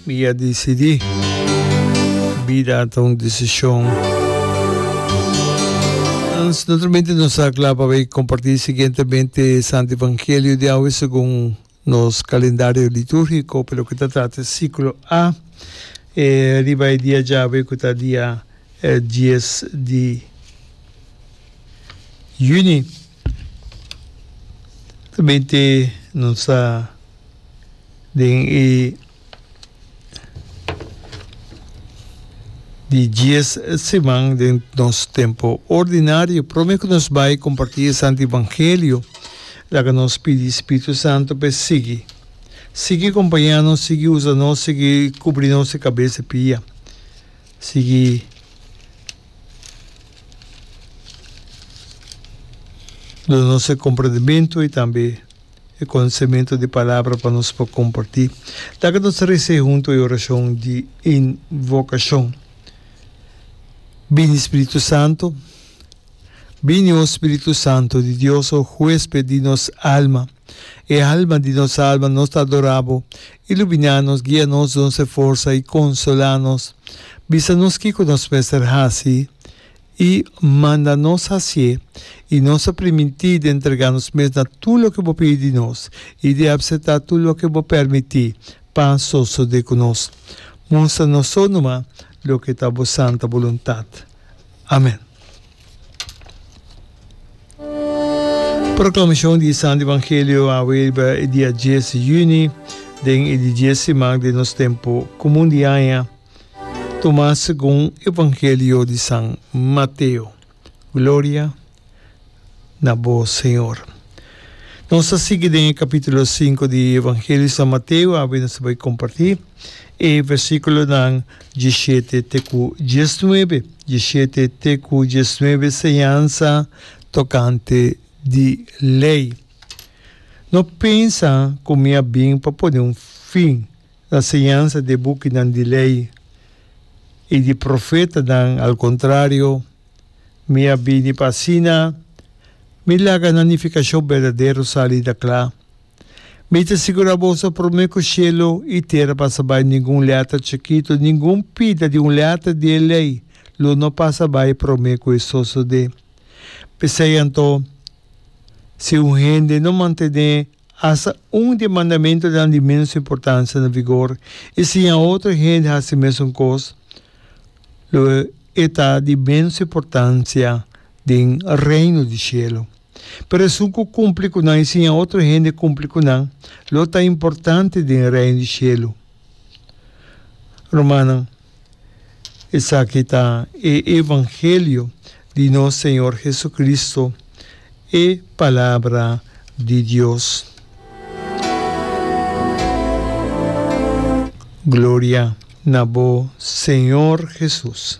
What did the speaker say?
Mi a disidí. Bida ta un desishon. Naturalmente nos ta kla pa bai kompartí siguientemente e Santo Evangelio di awe segun nos kalendario litúrgiko pa loke ta trata e siklo A e riba e dia djawe ku ta dia dies di yüni. Naturalmente nos ta. Den e di dies siman den nos tempo ordinario, prome ku nos bai kompartí e Santo Evangelio, laga nos pidi Spiritu Santo pa e sigui, sigui kompañá nos, sigui usa nos, sigui kubri nos di kabes i pia, sigui duna nos e komprendementu i tambe. E konosementu di palabra pa nos por kompartí. Laga nos resa huntu e orashon di invokashon. Bini Spiritu Santu, bini o Spiritu Santu di Dios o huesped di nos alma, e alma di nos alma nos ta adorá bo, iluminá nos, guia nos, duna nos e forsa i konsolá nos. Bisa nos kiko nos mester hasi. I manda nos hasié, i nos a primintí di entregá nos mes na tur loke bo pidi di nos, i di apseptá tur loke bo permití pa sosodé ku nos. Mustra nos so numa loke ta bo santa boluntat. Amèn. Proklamashon di e Santu Evangelio awe riba e dia dies di yüni, den e di dies siman den nos tempu komun di aña. Tuma segun Evangelio di San Mateo. Gloria na bo, Señor. Nos ta sigui den e capítulo 5 di Evangelio di San Mateo. Awe nos ta bai comparti e versículonan 17 te cu 19. 17 te cu 19 señansa tocante di ley. No pensa cu mi a bin pa pone un fin Na siñansa di e bukinan di Lei i di Profetanan, al kontrario, mi a bini pa asina mi laga nan nifikashon berdadero sali na kla. Mi ta sigurá boso, promé ku shelu i tera pasa bai, ningun lèter chikitu, ningun pida di un lèter di e Lei lo no pasa bai promé ku e sosodé. P'esei anto, si un hende no mantené Asta un di e mandamentunan di ménos importansia na vigor i siña otro hende hasi mesun kos, lo e ta di ménos importansia den Reino di shelu. Pero esun ku kumpli ku nan i siña otro hende kumpli ku nan, lo ta importante den Reino di shelu. Rumannan. Esaki ta e evangelio di nos Señor Jesucristo, e Palabra di Dios. Gloria na bo, Señor Jesus.